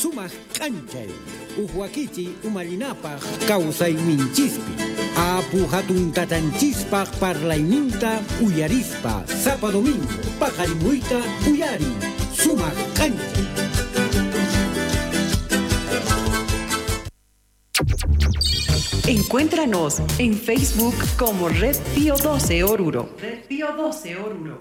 Sumaq k'anchay, uj wakichiy umallinapaq kawsayninchispi. Apu hatun tatanchispaq parlayninta uyarispa sapa domingo paqarimuyta uyariy. Sumaq k'anchay. Encuéntranos en Facebook como Red Pío 12 Oruro. Red Pío 12 Oruro.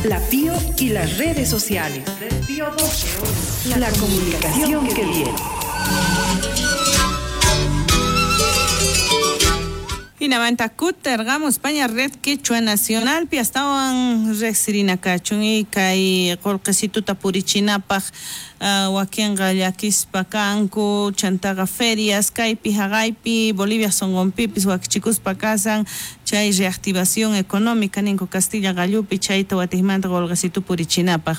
La Pío y las redes sociales. Red Pío 12 Oruro. La comunicación que viene. Hinamanta kuterqamos España Red Quechua Nacional pi astawan riqsirina kachun y kay qullqisituta purichinapaq wakinqa llakispa kanku chantaqa ferias kaypi haqaypi Bolivia sunqunpipis wakichikuspa kasan chay reactivación económica ninku Castilla qallupi chayta watiqmanta qullqisitu purichinapaq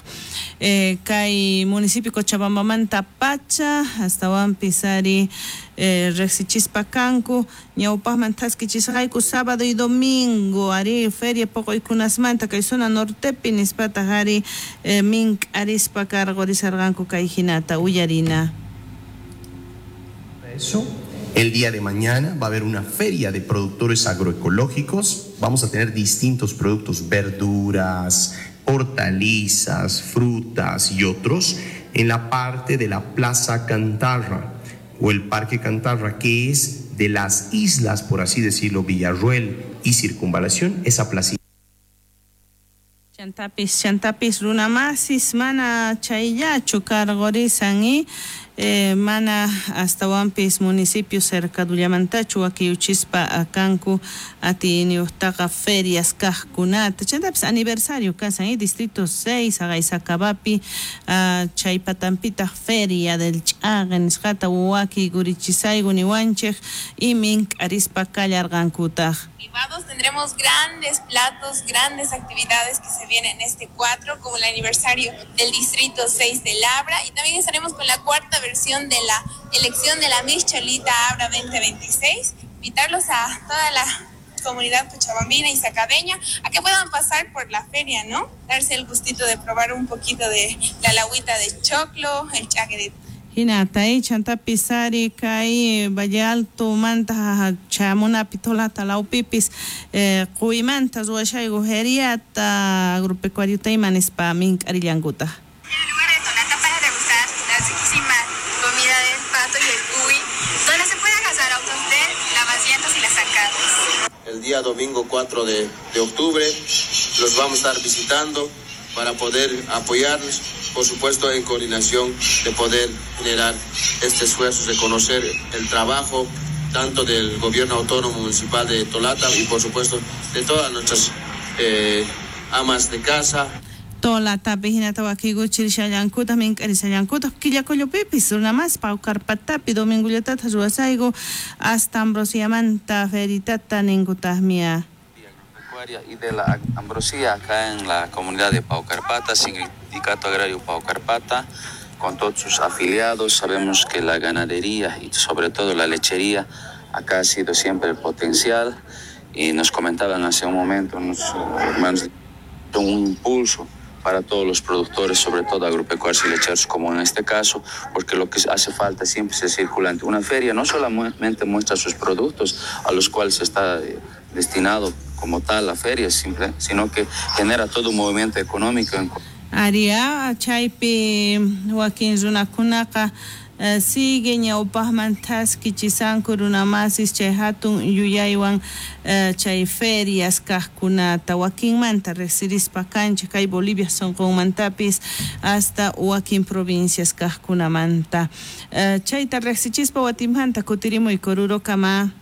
kay municipio Cochabambamanta pacha astawanpis ari riqsichispa kanku ñawpaqman thaskichisqayku sábado y domingo ari feria poqoykunasmanta kay zona nortepi nispataq ari mink'arispa karqurisarqanku kay hinata uyarina. Eso, el día de mañana va a haber una feria de productores agroecológicos. Vamos a tener distintos productos, verduras, hortalizas, frutas y otros en la parte de la Plaza Cantarra o el Parque Cantarra, que es de las islas, por así decirlo, Villarruel y Circunvalación, esa placita. Chantapis runamasis mana chayllachu karqurisan y mana astawanpis municipio cercadullamantachu wakiyuchispa kanku atiyniyuqtaqa ferias kaqkunata chantapis aniversario kasan y distrito 6 Haqaysacabapi chay patampitaq feria del ch'aqe nisqata wakiykurichisayku niwanchik y mink'arispa kallarqankutaq. Tendremos grandes platos, grandes actividades que se vienen este 4, como el aniversario del Distrito 6 de Labra, y también estaremos con la cuarta versión de la elección de la Miss Cholita Abra 2026. Invitarlos a toda la comunidad cochabambina y sacabeña a que puedan pasar por la feria, ¿no? Darse el gustito de probar un poquito de la lagüita de choclo, el chaque de Hinata chantapis ari kay Valle Alto manta chamunapi Tolata lawpipis quymanta ruwashayku feriata agropecuariota ima nispa mink'arillankutaj. En el lugar de Tolata para degustar la riquísima comida del pato y el cuy, donde se pueden gastar autos de lavasientos y las zancadas. El día domingo 4 de octubre los vamos a estar visitando para poder apoyarnos, por supuesto en coordinación de poder generar este esfuerzo, reconocer el trabajo tanto del gobierno autónomo municipal de Tolata y por supuesto de todas nuestras amas de casa. Tolatapi hinata wakiykuchirishallankutaq mink'arishallankutaq Quillacollopipis runamas Paucarpatapi domingullatataq ruwasayku hasta Ambrosiamanta feritata ninkutaqmia. Y de la Ambrosía acá en la comunidad de Paucarpata, Sindicato Agrario Paucarpata, con todos sus afiliados. Sabemos que la ganadería y sobre todo la lechería acá ha sido siempre el potencial, y nos comentaban hace un momento unos hermanos, un impulso para todos los productores, sobre todo agropecuarios y lecheros, como en este caso, porque lo que hace falta siempre es el circulante. Una feria no solamente muestra sus productos a los cuales está destinado como tal la feria, simple, sino que genera todo un movimiento económico. Aria, chaypi wakin runakunaqa sigue ñawpaqman thaskichisanku runamasis chay hatun yuyaywan chay ferias kaqkunata wakinmanta riqsirispa kanchik kay Bolivia sunqunmantapis hasta wakin provincias kaqkunamanta chayta riqsichispa watinmanta kutirimuy Orurokama.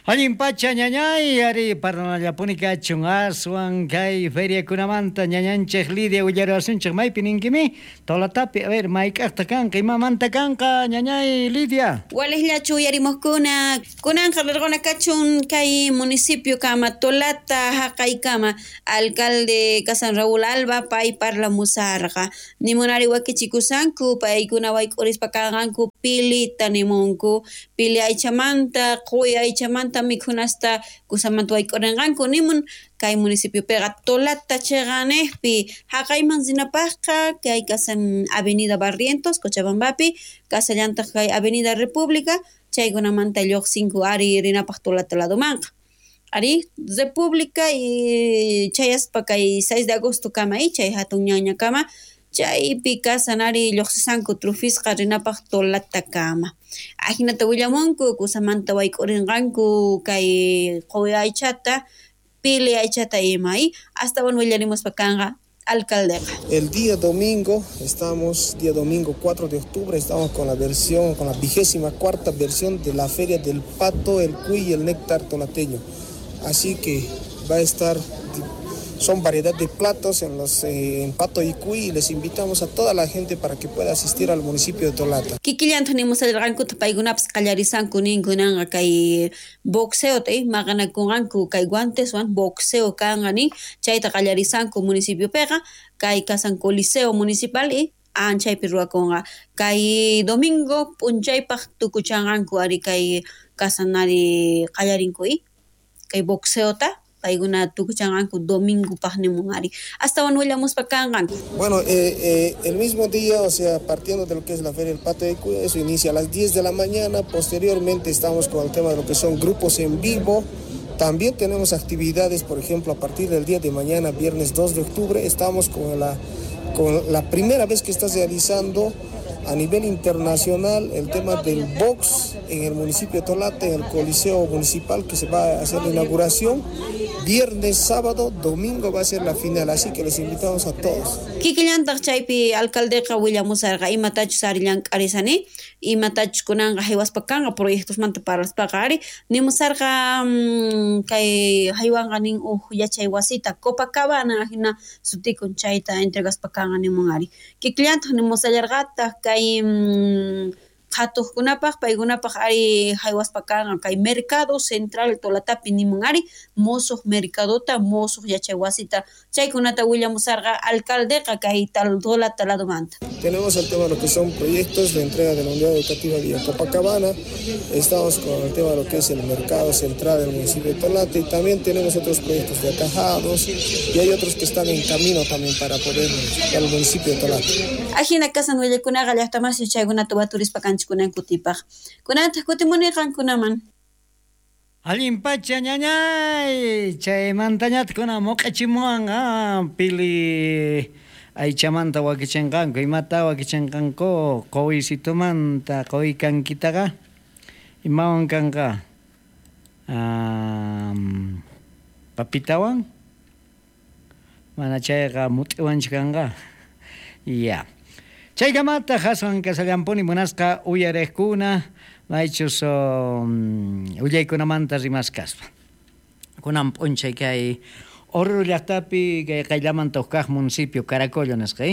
Allin pacha ñañay ari parlanallapuni kachun aswan kay feriakunamanta ñañanchik Lidia willaruwasunchik maypi ninkimi Tolatapi, a ver mayk'aqta kanqa imamanta kanqa ñañay Lidia. Waliqllachu uyarimuqkuna kunanqa rirquna kachun kay municipio kama Tolata haqaykama alcalde kasan Raúl Alba pay parlamusarqa nimunari wakichikusanku paykuna wayk'urispa kanqanku pilita nimunku pili aychamanta quwi aychamanta Kusamanta mikhunasta kusamanta wayk'urinqanku nimun kay municipiopiqa Tolata chiqanejpi haqayman rinapaqqa kay kasan Avenida Barrientos Cochabambapi kasallantaq kay Avenida República chaykunamanta lluqsinku ari rinapaq Tolata ladomanqa ari República y chayaspa kay 6 de agosto kama chay hatun ñaña kama chaypi kasan ari lluqsisanku trufisqa rinapaq Tolata kama ajinata willamunku kusamanta wayk'urinqanku kay quwi aychata pili aychata ima astawan willarimuspa kanqa alcaldeqa. El día domingo estamos, día domingo 4 de octubre, estamos con la versión, con la 24ª versión de la Feria del Pato, el Cuy y el Néctar Tolateño. Así que va a estar, son variedad de platos en los en Pato y Cuy, y les invitamos a toda la gente para que pueda asistir al municipio de Tolata. Kikillanta nimusallarqankuta paykunapas qallarisanku ninkunanqa kay boxeo maqanakunqanku kay guanteswan boxeo kanqa nin chayta qallarisanku municipiopiqa kay kasan coliseo municipal anchaypi ruwakunqa kay domingo p'unchaypaq tukuchanqanku ari kay kasan ari qallarinku kay boxeota paykuna tukuchanqanku domingopaq nimun ari astawan willamuspa kanqanku. Bueno, el mismo día, o sea, partiendo de lo que es la Feria del Pato de Cuy, eso inicia a las 10 de la mañana, posteriormente estamos con el tema de lo que son grupos en vivo. También tenemos actividades, por ejemplo, a partir del día de mañana, viernes 2 de octubre, estamos con la primera vez que está realizando a nivel internacional el tema del box en el municipio de Tolata, en el Coliseo Municipal, que se va a hacer la inauguración. Viernes, sábado, domingo va a ser la final, así que les invitamos a todos. Kikillantaq chaypi alcaldeqa willamusarqa imatachus ari llank'arisani, imatachus kunanqa haywaspa kanqa proyectosmanta parlaspaqa ari nimusarqa kay haywanqa nin uj yachay wasita Copacabana hina sutikun chayta entregaspa kanqa nimun ari. Kikillantaq nimusallarqataq kay qhatuqkunapaq paykunapaq ari haywaspa kanqa kay mercado central Tolatapi nimun ari musuq mercadota musuq yachay wasita chaykunata willamusarqa alcaldeqa kay Tolata ladomanta. Tenemos el tema de lo que son proyectos de entrega de la unidad educativa Villa Copacabana, estamos con el tema de lo que es el mercado central del municipio de Tolata y también tenemos otros proyectos de atajados y hay otros que están en camino también para poder al municipio de Tolata. Ajina kasan willakunaqa llaqtamasi chaykunata waturispa kanchik kunan kutipaq. Kunantaq kutimuni qankunaman. Allin pacha ñañay, chaymantañataq kunan muq'ichimuwan pili aychamanta wakichinqanku, imata wakichinqanku quwisitumanta quwi kankitaqa imawan kanqa papitawan mana chayqa mut'iwanchu kanqa. Ya. Chaykamata aswan kasallampuni munasqa uyariqkuna maychus willaykunamanta rimaskaspa. Kunan p'unchay kay Oruro llaqtapi kay qayllamanta huk kaq municipio Caracollo nisqa,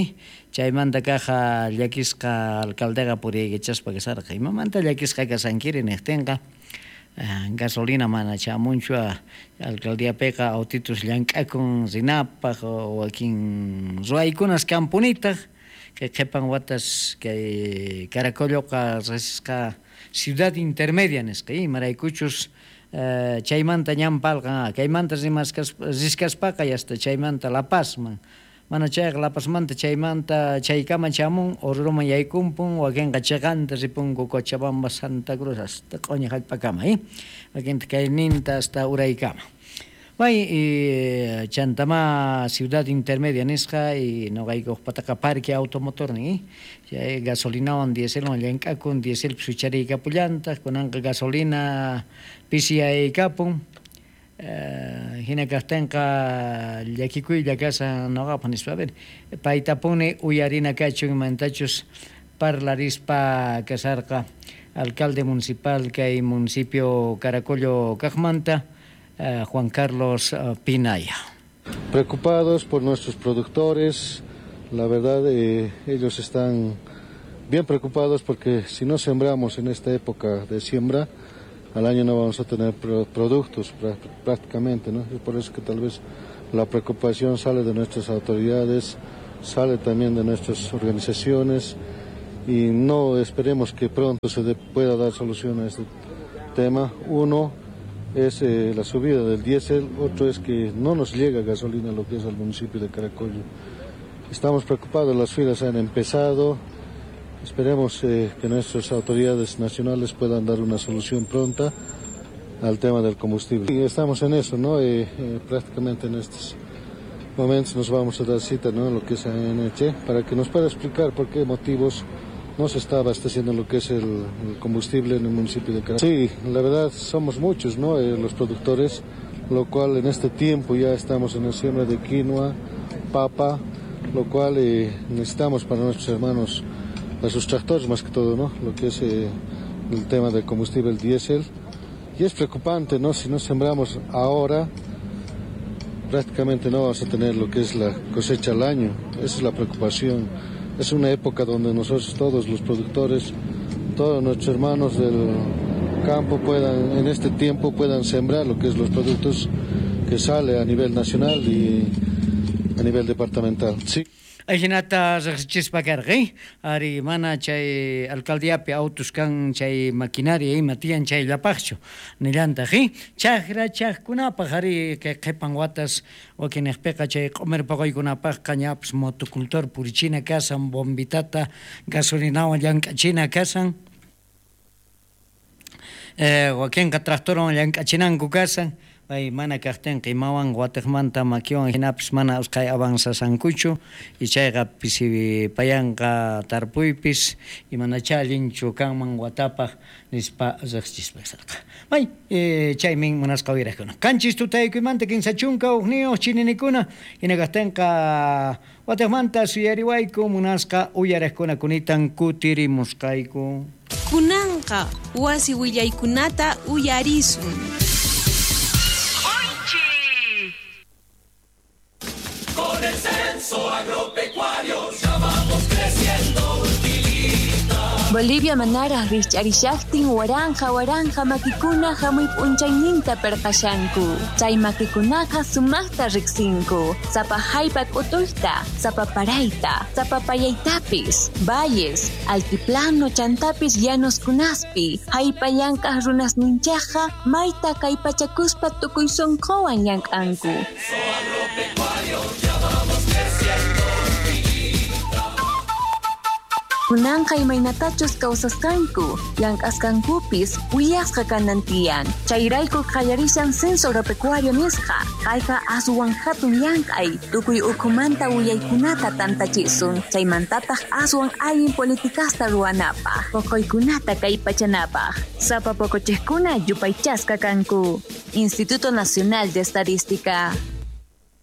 chaymanta kaq llakisqa alcaldeqa puriykachaspa kasarqa. Imamanta llakisqa kasankiri niqtinqa gasolina mana chamunchu alcaldiapiqa autitus llank'akun rinapaq wakin ruwaykunas kampunitaq kay qhipan watas kay Caracolloqa riqsisqa ciudad intermedia nisqa, imaraykuchus chaymanta ñan palqan kaymanta riskaspaqa hasta chaymanta La Pazman mana chayqa La Pazmanta chaymanta chaykama chamun Oruroman yaykumpun wakinqa chiqanta ripunku Cochabamba Santa Cruz hasta q'uñi hallp'akama wakinta kayninta hasta uraykama. May chantama ciudad intermedia nisqa y noqaykuqpataqa parque automotor nin chay gasolinawan dieselwan llank'akun diesel suchariykapullantaq kunanqa gasolina pisiyaykapun hina kaqtinqa llakikuylla kasan noqapaq nispa. A ver, paytapuni uyarina kachun imantachus parlarispa kasarqa alcalde municipal kay municipio Caracollo kaqmanta Juan Carlos Pinaya. Preocupados por nuestros productores, la verdad ellos están bien preocupados porque si no sembramos en esta época de siembra, al año no vamos a tener productos prácticamente, ¿no? Es por eso que tal vez la preocupación sale de nuestras autoridades, sale también de nuestras organizaciones y no esperemos que pronto se pueda dar solución a este tema. Uno, es la subida del diésel, otro es que no nos llega gasolina lo que es al municipio de Caracollo. Estamos preocupados, las filas han empezado, esperemos que nuestras autoridades nacionales puedan dar una solución pronta al tema del combustible. Y estamos en eso, ¿no? Prácticamente en estos momentos nos vamos a dar cita, ¿no?, lo que es ANH, para que nos pueda explicar por qué motivos no se está abasteciendo lo que es el combustible en el municipio de Caracollo. Sí, la verdad somos muchos, ¿no?, los productores, lo cual en este tiempo ya estamos en la siembra de quinoa, papa, lo cual necesitamos para nuestros hermanos, para sus tractores más que todo, ¿no?, lo que es el tema del combustible, el diésel. Y es preocupante, ¿no?, si no sembramos ahora, prácticamente no vamos a tener lo que es la cosecha al año. Esa es la preocupación. Es una época donde nosotros todos los productores, todos nuestros hermanos del campo puedan, en este tiempo puedan sembrar lo que es los productos que sale a nivel nacional y a nivel departamental. Sí. Ajinata riqsichispa karqa, ari mana chay alcaldiapi autos kan chay maquinaria ima tiyan chayllapaqchu nillantaq, chakra chaqkunapaq ari kay qhipan watas wakinniqpiqa chay q'umir paqaykunapaqqa ñapis motocultor purichina kasan, bombitata gasolinawan llank'achina kasan, wakinqa tractorwan llank'achinanku kasan. Pay mana kaqtinqa imawan watiqmanta makiwan hinapis mana usqhay avanzasankuchu y chayqa pisi payanqa tarpuypis y manachá allinchu kanman watapaq nispa riqsichispa kasarqa. May chaymin munasqa uyariqkuna. Qanchis tutaykuymanta 31 chininikuna hina kaqtinqa watiqmanta suyariwayku munasqa uyariqkuna kunitan kutirimusqayku. Kunanqa wasi willaykunata uyarisun. Con el censo agropecuario ya vamos creciendo, utilita. Bolivia manara rikch'arishaqtin waranja waranja makikuna hamuy p'unchayninta perqashanku. Chay makikunaqa sumaqta riqsinku. Sapa haypa k'utuyta, sapa parayta, sapa payaytapis, valles, altiplano chantapis llanoskunaspi, haypa llank'aq runasninchaqqa mayta kallpachakuspa tukuy sunquwan llank'anku. Kunanqa imaynatachus kawsasqanku, llank'asqankupis willasqa kanan tiyan. Chayrayku qallarishan censo agropecuario nisqa. Kayqa aswan hatun llank'ay, tukuy ukhumanta willaykunata tantachisun, chaymantataq aswan allin politikasta ruwanapaq, poqoykunata kallpachanapaq. Sapa poqochiqkuna yupaychasqa kanku. Instituto Nacional de Estadística.